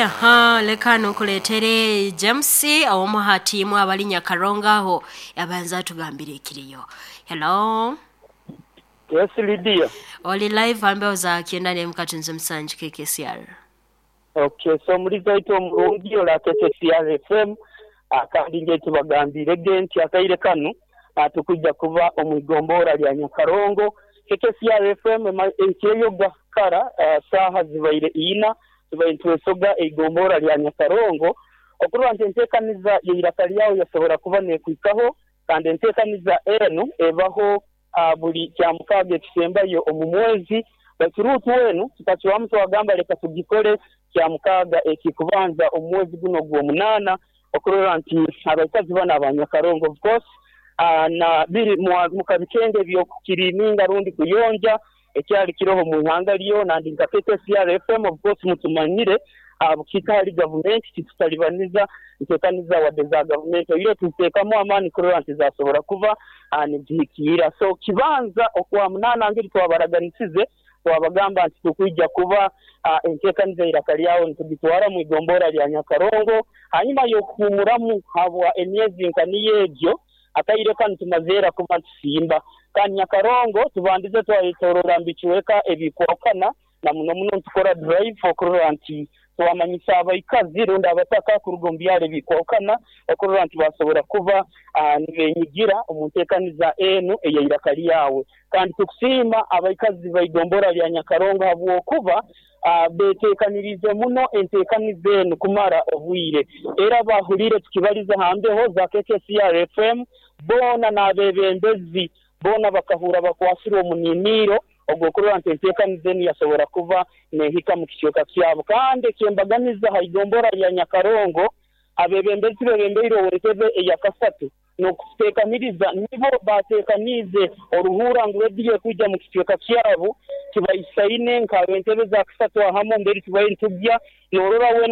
Aha, leka nkuleetere James ow'omuhati imwe abali Nyakarongo aho abanza atugambire ekiriyo. Hello. Yes Lydia. Oli live ambeho za kyenda n'emu katunzi musanju KKCR. Ok so omulizi waitu omulungi ole KKCR FM kandi nje tubagambiire ge nti akaire kanu tukwija kuba omu igombora lya Nyakarongo. KKCR FM eikireyo gwa kara saaha zibaire ina tubaire nitwesoga eigombora lya Nyakarongo okurora nti entekaniza y'eiraka lyawe yasobora kuba nekwikaho kandi entekaniza enu ebaho buli Kyamukaaga ekisembayo omu mwezi. Baitu ruutu enu tukacwamu twagamba leka tugikole Kyamukaaga ekikubanza omu mwezi guno ogw'omunaana okurora nti abaikazi banu aba Nyakarongo of course na biri mu kabikenge eby'okukiriininga rundi kuyonja ekyali kiroho mu ihanga lyona and nka KKCR FM of course mutumanyire bukiika hali gavumenti titutalibaniza ntekaniza wadde za gavumenti oihireho tuziteekamu amaani kurora nti zasobora kuba nizihikiira. So kibanza okwamunaana ngeri twabaraganisize twabagamba nti tukwija kuba entekaniza eiraka lyawe nitugitwara mu igombora lya Nyakarongo hanyuma y'okuhuumuramu habwa emyezi nka niyo egyo. Akaire kanu tumazeera kuba nitusimba kandi Nyakarongo tubandize twayetoroora mu bicweka ebikwahukana na muno muno nitukora drive okurora nti twamanyisa abaikazi rundi abataka kuruga omu byaro ebikwahukana okurora nti basobora kuba nibenyigira omu ntekaniza enu ey'eiraka lyawe. Kandi tukusiima abaikazi b'eigombora lya Nyakarongo habwokuba betekaniriize muno entekaniza enu kumara obwire. Era bahuliire tukibaliza ha mbeho za KKCR FM boona n'abebembezi boona bakahurra bakwasirwe omuniniiro ogw'okurora nti entekaniza enu yasobora kuba nehika mu kicweka kyabo. Kandi ekyembaganiza ha igombora lya Nyakarongo, abebembezi bebembeire ow'entebe eyakasatu n'okututekaniriza nibo batekaniize oruhuura ngu rediyo ekwija mu kicweka kyabo tibaisaine nk'ab'entebe za kasatu ahamu mbere tubaire nitugya norora weena.